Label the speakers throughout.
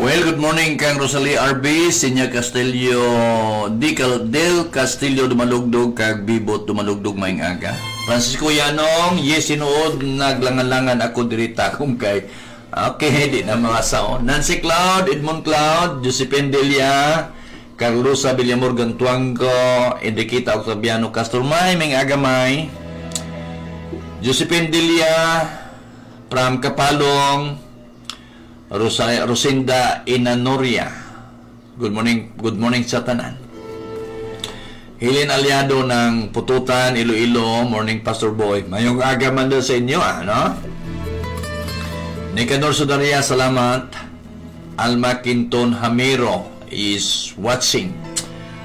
Speaker 1: Well, good morning kang Rosalie RB, Sinya Castillo, Del Castillo Dumalugdog, kag Bibot Dumalugdog, maayong aga. Francisco Yanong, yes, sinuod, naglangan-langan ako diri takom kay. Okay, di na mga sao. Nancy Cloud, Edmond Cloud, Josephine Delia, Carlosa Villamor Gantuangco, Enriquita Octaviano Castro May, maayong aga, May. Josephine Delia, from Kapalong, Rosa, Rosinda Inanoria. Good morning sa tanan. Helen Aliado ng Pututan, Iloilo, morning, Pastor Boy. Mayong aga man daw sa inyo, ah, no? Nicanor Sudaria, salamat. Alma Quinton Hamiro is watching.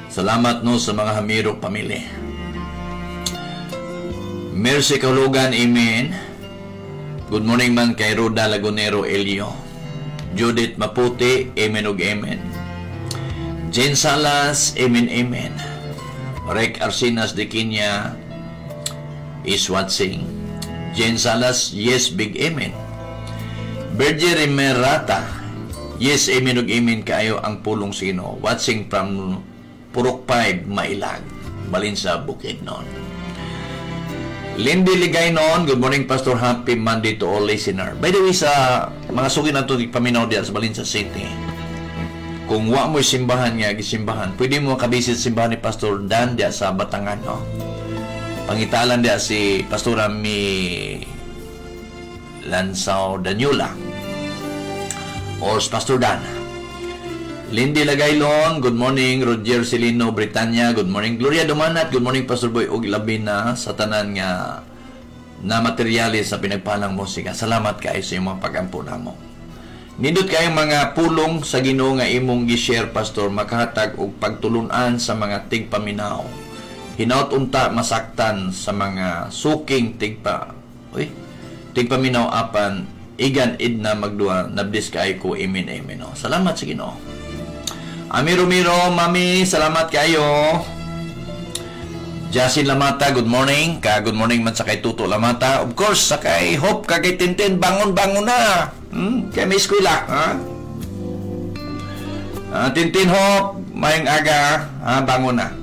Speaker 1: Salamat, no, sa mga Hamiro pamilya. Mercy Kalugan, amen. Good morning man kay Roda Lagunero Elio. Judith Maputi, amen ug amen. Jane Salas, amen, amen. Rek Arsinas de Kenya is watching. Jane Salas, yes, big amen. Berger Emerata, yes, amen ug amen kaayo ang pulong sa Ginoo. Watching from Purok 5, Mailag, Balinsa, Bukidnon. Lindy Ligaynon, good morning, Pastor. Happy Monday to all listener. By the way, sa mga suki nato paminaw diya sa Balinsa City, kung wa mo simbahan nga gisimbahan, pwede mo kabisit simbahan ni Pastor Dan diya sa Batangan, no? Pangitalan diya si Pastora Mi Lansaw Daniela or si Pastor Dan. Lindy Lagaylon, good morning. Roger Celino Britannia, good morning. Gloria Dumanat, good morning, Pastor Boy. Ug labi na sa tanan nga na materyales sa pinagpalang musika. Salamat kaayo sa imong pagampo namo. Nindot kayong mga pulong sa Ginoo nga imong gi-share, Pastor, makahatag og pagtulunan sa mga tigpaminaw. Hinaut unta masaktan sa mga suking tigpa uy, tigpaminaw apan igan id na magduha nablis kaayo ko. Amen, amen. Oh. Salamat sa Ginoo. Ami Romero, Mami, salamat kayo. Jasin Lamata, good morning. Ka good morning man sa kay Tuto Lamata. Of course, sa kay Hope, ka kay Tintin, bangon-bangon na. Kay may eskwela, ha? Tintin Hope, mayong aga, ha, bangon na.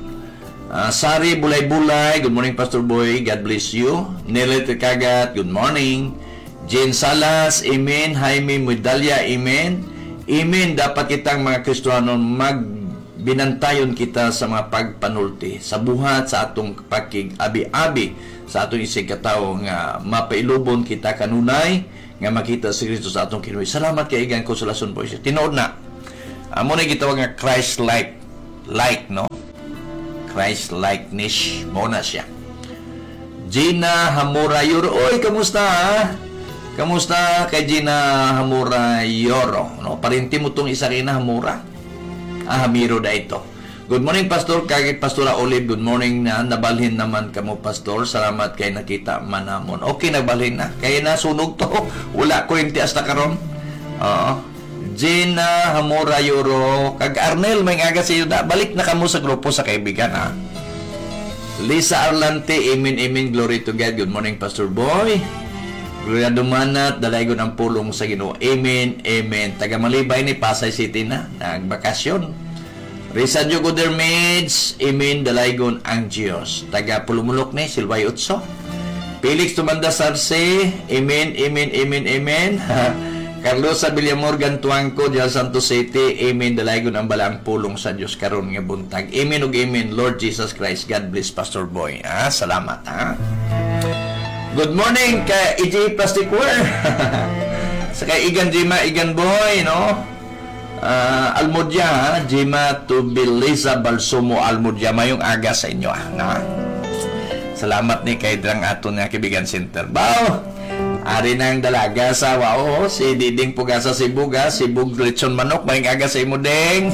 Speaker 1: Sari Bulay-Bulay, good morning, Pastor Boy, God bless you. Nelly Kagat, good morning. Jane Salas, amen. Jaime Medalya, amen. Amen, dapat kitang mga Kristiyano magbinantayon kita sa mga pagpanulti, sa buhat sa atong pakig abi-abi sa atong isig katawo nga mapailubon kita kanunay nga makita si Kristo sa atong kinabuhi. Salamat kay Igan Consolacion po. Tinuod na. Amo na gitawag nga Christ-like like, no? Christ-likeness mo na siya. Gina Hamura Yoro. Oy, kamusta, ha? Kamusta kay Gina Hamura Yoro? No, parinti mo tong isa kay na Hamura. Ah, Hamiro da ito. Good morning, Pastor. Kagit Pastora Olive, good morning na. Nabalhin naman kamo, Pastor. Salamat kay nakita manamon. Okay, nagbalhin na. Kay nasunog to. Wala kuryente hasta karon. Oo. Gina Hamura Yoro. Kag Arnel, may aga sa iyo da. Balik na kamo sa grupo sa kaibigan, ha. Lisa Arlante, amen, amen, glory to God. Good morning, Pastor Boy. Gloria Dumanat, dalaygon ang pulong sa Ginoo. Amen, amen. Taga Malibay ni Pasay City na, nagbakasyon. Risa Jogo Maids, amen, dalaygon ang Diyos. Taga Pulumulok ni Silvay Utso. Felix Tumanda Sarse, amen, amen, amen, amen. Carlos Villamor Gantuangco, Dial Santos City, amen, dalaygon ang balaang pulong sa Diyos karon nga buntag. Amen ug amen, Lord Jesus Christ. God bless, Pastor Boy. Ah, salamat, ha. Good morning kay EJ Plasticware. Sa kay Igan Jima, Igan Boy, no? Almodya, ha? Jima to Belisa Balsumo Almodya. Mayong aga sa inyo, ah. No? Salamat ni kay Drang aton nga Kaibigan Center. Bao! Ari nang dalaga sa wao, si Diding Pugasa Sibug, ha? Sibug Lechon Manok, mayong aga sa imo, Ding.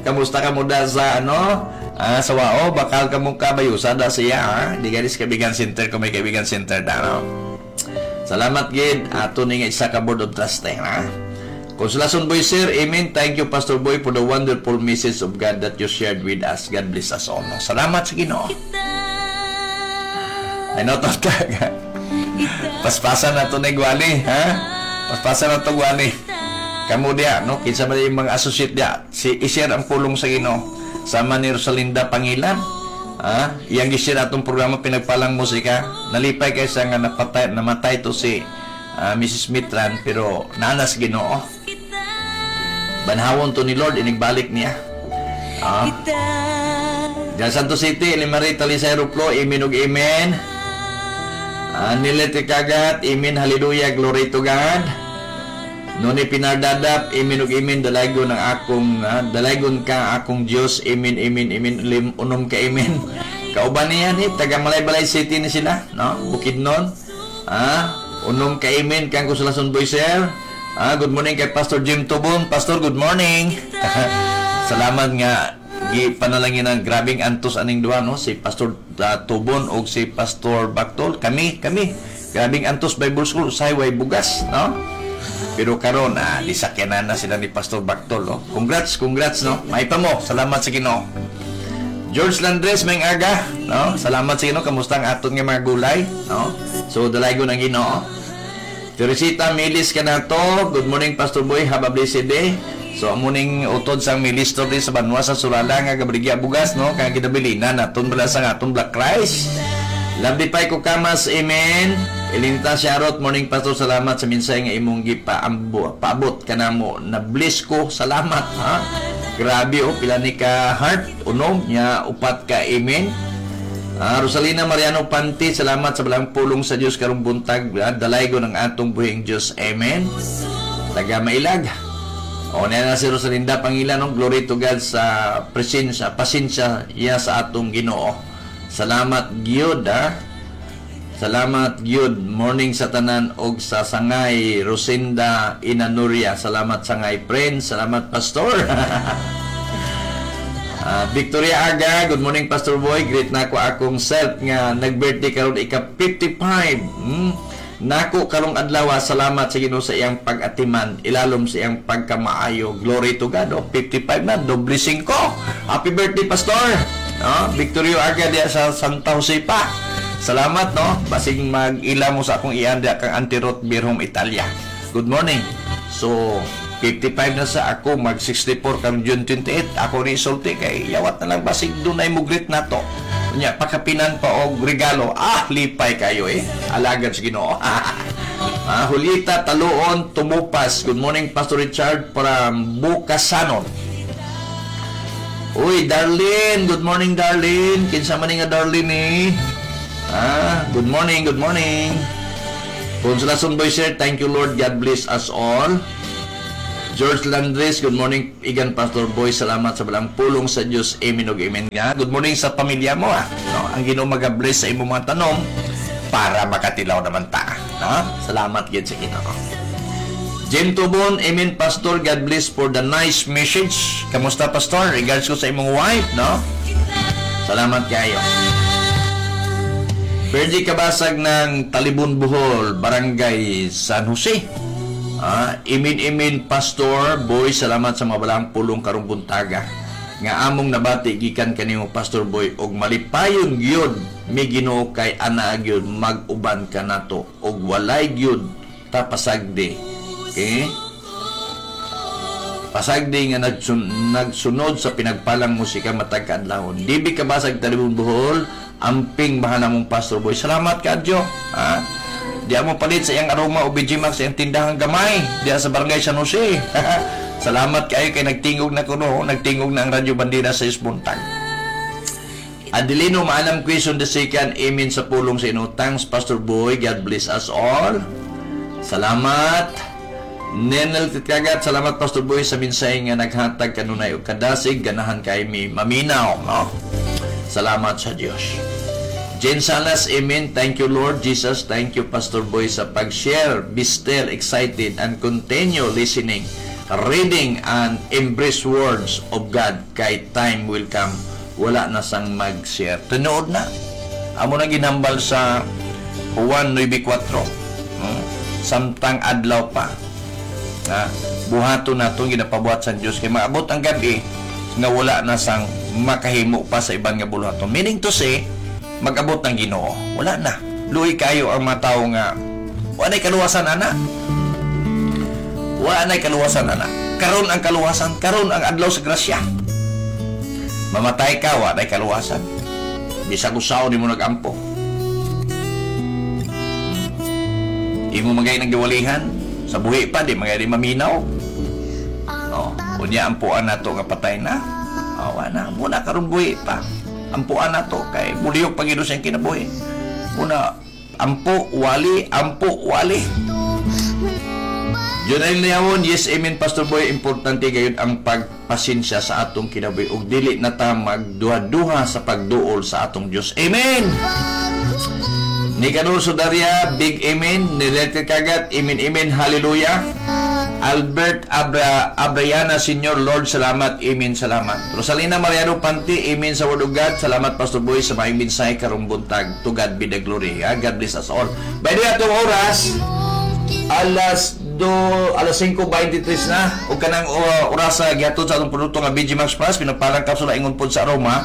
Speaker 1: Kamusta ka mo da sa ano? Ah, sa wao, bakal ka mong kabayusa da siya, ha? Di galis Kaibigan Center kung may Kaibigan Center da, no? Salamat gid ato ni nga isa ka board of trustee, ha? Consolacion Boy Sir, amen. Thank you, Pastor Boy, for the wonderful message of God that you shared with us. God bless us all. No? Salamat sa Ginoo. Ay, no, to. Paspasan na to ni Gwali, ha? Paspasan na to, Gwali. Kamo diya, no? Kinsa man yung mga associate diya, si i-share ang pulong sa Ginoo. Sama ni Rosalinda Pangilan. Ah, iyang gi-share atong programa Pinagpalang Musika. Nalipay kay sa nga napatay, namatay to si Mrs. Mitran, pero nanas Ginoo. Banhawon to ni Lord, inigbalik niya. Ah. Diyan Santo City, Limari Talisay Ruplo, amen ug amen. Nilet Kagat, amen, hallelujah, glory to God. Noni Pinardadap, amen ug amen, dalaygon ang akong, dalaygon ka akong Dios, amen, amen, amen, lim, unom ka amen. Kauban niya ni, taga Malaybalay City ni sila, no? Bukidnon. Unom ka amen kang Consolacion Boy Sir. Good morning kay Pastor Jim Tubon. Pastor, good morning. Salamat nga gi panalangin ang grabing antos aning duha, no, si Pastor Tubon og si Pastor Bactol. Kami kami grabing antos Bible School, usahay way bugas, no, pero karon disakyanan na sila ni Pastor Bactol, no. Congrats, congrats, no, may pa mo. Salamat sa Ginoo. George Landres, may aga, no. Salamat sa Ginoo. Kamusta ang aton nga mga gulay, no? So dalaygon ang Ginoo. Teresita Milis Kanato, good morning, Pastor Boy, have a blessed day. So amo ning utod sang Milis to sa Banwa sa Surala nga gabrigya bugas, no, kang ginabilina naton bala sa atong black rice. Lovely pay ko kamas, amen. Elinita Sharot, morning, Pastor, salamat sa minsay nga imong gipaambo, paabot kanamo. Na bless ko, salamat ha. Grabe oh, pila ni ka heart, unom nya upat ka amen. Rosalina Mariano Panti, salamat sa balang pulong sa Dios karong buntag. Dalaygon ang atong buhing Dios. Amen. Taga Mailag. O na na si Rosalinda Pangilan, no? Glory to God sa presensya, pasensya iya sa atong Ginoo. Salamat gyud ha. Salamat gyud. Morning sa tanan og sa sangay Rosinda Inanuria. Salamat, sangay friends. Salamat, Pastor. Victoria Aga, good morning, Pastor Boy. Greet nako akong self nga nag-birthday karon ika 55. Nako karong adlaw, salamat sa Ginoo sa iyang pag-atiman, ilalom sa iyang pagkamaayo. Glory to God. Oh, 55 na, doble 5. Happy birthday, Pastor. No? Victorio Aga diya sa Santa Josepa. Salamat, no. Basig mag-ila mo sa akong iyan diya kang Antirot Birhom Italia. Good morning. So, 55 na sa ako, mag 64 karon June 28. Ako ni isulti kay yawat na lang basig dunay mo greet nato. Nya pakapinan pa og regalo. Ah, lipay kayo eh. Alagad sa Ginoo. Julieta Taluon Tumupas. Good morning, Pastor Richard from Bukasanon. Uy, Darlene. Good morning, Darlene. Kinsa man ni nga Darlene eh? Good morning, good morning. Consolacion Boy Sir, thank you, Lord. God bless us all. George Landres, good morning, Igan Pastor Boy. Salamat sa balang pulong sa Diyos. Amen ug amen. Nga. Good morning sa pamilya mo ah. No? Ang Ginoo maga-bless sa imong mga tanom para makatilaw naman ta. No? Salamat gid sa Ginoo. Jim Tubon, amen, Pastor. God bless for the nice message. Kamusta, Pastor? Regards ko sa imong wife, no? Salamat kayo. Fergie Kabasag ng Talibon Bohol, Barangay San Jose. Amen, amen, Pastor Boy, salamat sa mabalang pulong karong buntaga. Nga among nabati gikan kanimo, Pastor Boy, og malipayon gyud mi Ginoo kay ana gyud mag-uban ka nato og walay gyud ta pasagdi. Okay? Pasagdi nga nagsunod sa pinagpalang musika matag kaadlawon. Dibi Kabasag, Talibon Bohol, amping bahala mong Pastor Boy. Salamat kadyo. Ha? Di mo palit sa iyang aroma o BG Max sa iyang tindahan gamay. Diya sa Barangay San Jose. Salamat kayo kay nagtingog na kuno, nagtingog na ang Radyo Bandera sa Isbuntag. Adelino Maalam Quezon the Second, amen sa pulong sa ino. Thanks, Pastor Boy. God bless us all. Salamat. Nenel Titkagat, salamat, Pastor Boy, sa minsay nga naghatag kanunay og kadasig, ganahan kay mi maminaw, no? Salamat sa Dios. Jen Salas, amen. Thank you, Lord Jesus. Thank you, Pastor Boy, sa pag-share. Be still excited and continue listening, reading, and embrace words of God. Kay time will come. Wala na sang mag-share. Tinuod na. Amo na ginhambal sa Juan 9.4. No? Samtang adlaw pa. Ha? Buhaton nato ginapabuhat sa Dios kay maabot ang gabi nga wala na sang makahimo pa sa iban nga buluhaton. Meaning to say, mag-abot ng Ginoo. Wala na. Luhi kayo ang mga tao nga wala kaluwasan ana. Wala na'y kaluwasan ana. Karon ang kaluwasan, karon ang adlaw sa grasya. Mamatay ka, wala na'y kaluwasan. Bisag usaon nimo nagampo. Imo magay nang giwalihan sa buhi pa di magay di maminaw. No, unya ampuan nato nga patay na. Awa na, muna karon buhi pa. Ampuan nato kay muliyok pa gyud sa kinabuhi. Muna ampo wali, ampo wali. Junel Niyawon, yes, amen, Pastor Boy. Importante gayud ang pagpasensya sa atong kinabuhi ug dili na ta magduha-duha sa pagduol sa atong Dios. Amen. Nicanor Sudaria, big amen. Nilete Kagat, amen, amen, hallelujah. Albert Abriana, Senior, Lord, salamat, amen, salamat. Rosalina Mariano Panti, amen sa Word of God. Salamat, Pastor Boy, sa maayong mensahe karong buntag. To God be the glory. Ah, God bless us all. By the way, atong oras, alas 5:23 na ug kanang orasa gihatod sa atong produkto nga BG Max Plus, pinagpalang kapsula ingon pod sa aroma.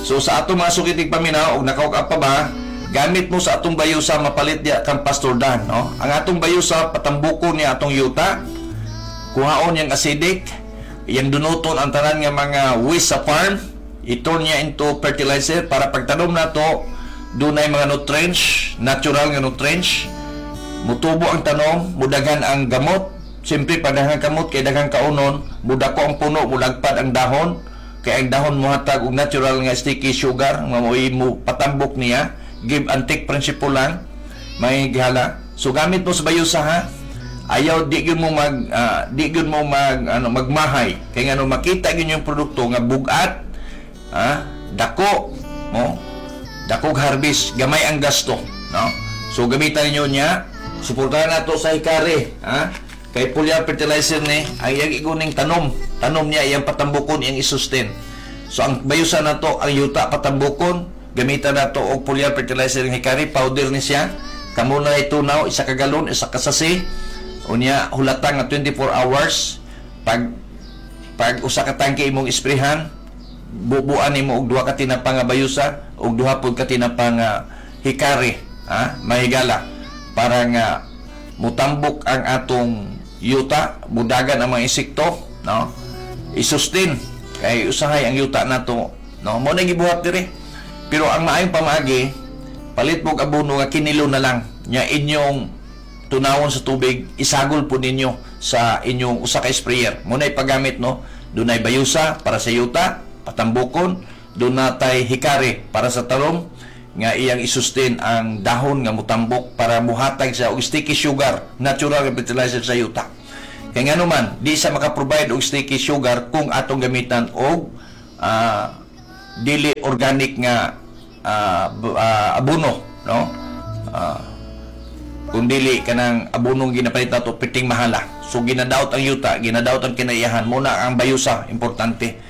Speaker 1: So sa atong mga sukitig paminaw ug naka pa ba, gamit mo sa atong bayusa, mapalit diya kang Pastor Dan, no? Ang atong bayusa, patambukon niya atong yuta, kuhaon yang acidic, iyang dunuton ang tanan nga mga waste sa farm, i-turn niya into fertilizer para pagtanom nato dunay mga nutrients, natural nga nutrients. Mutubo ang tanom, mudagan ang gamot. Siyempre, pag daghang kamot, kay daghang kaunon, mudako ang puno, mulagpad ang dahon. Kay ang dahon muhatag og natural nga sticky sugar, nga mo'y mo patambok niya. Give and take principle lang, may gihala. So gamit mo sa bayusa ha. Ayaw di gyud mo mag ano magmahay. Kay ngano makita gyud yung produkto nga bugat, dako mo, dakog harvest, gamay ang gasto, no? So gamitan ninyo niya. Suportahan nato sa Hikari, ha? Kay foliar fertilizer ni, ang iyang iguning tanom, tanom niya iyang patambukon, iyang isustain. So ang bayusan nato ang yuta patambukon, gamitan nato og foliar fertilizer ng Hikari, powder ni siya. Kamo na itunaw, isa ka galon, isa ka sachet. Unya hulatang nga 24 hours pag usa ka tangke imong isprehan, bubuan nimo og duha ka tinapa nga bayusa ug duha pud ka tinapa nga Hikari, ha? Mahigala para nga mutambok ang atong yuta, mudagan ang mga insekto, no? I-sustain kay usahay ang yuta nato, no? Mo na gibuhat diri. Pero ang maayong pamaagi, palit mo og abono nga kinilo na lang nya inyong tunawon sa tubig, isagol po ninyo sa inyong usa ka sprayer. Mo na ipagamit, no? Dunay bayusa para sa yuta, patambukon, dunay Hikari para sa tarom nga iyang isustain ang dahon nga mutambok para muhatag siya og sticky sugar, natural nga fertilizer sa yuta. Kay ngano man, di siya maka-provide og sticky sugar kung atong gamitan og dili organic nga abono, no? Kung dili kanang abonong ginapalit nato, piting mahala. So ginadaot ang yuta, ginadaot ang kinaiyahan. Muna ang bayusa, importante.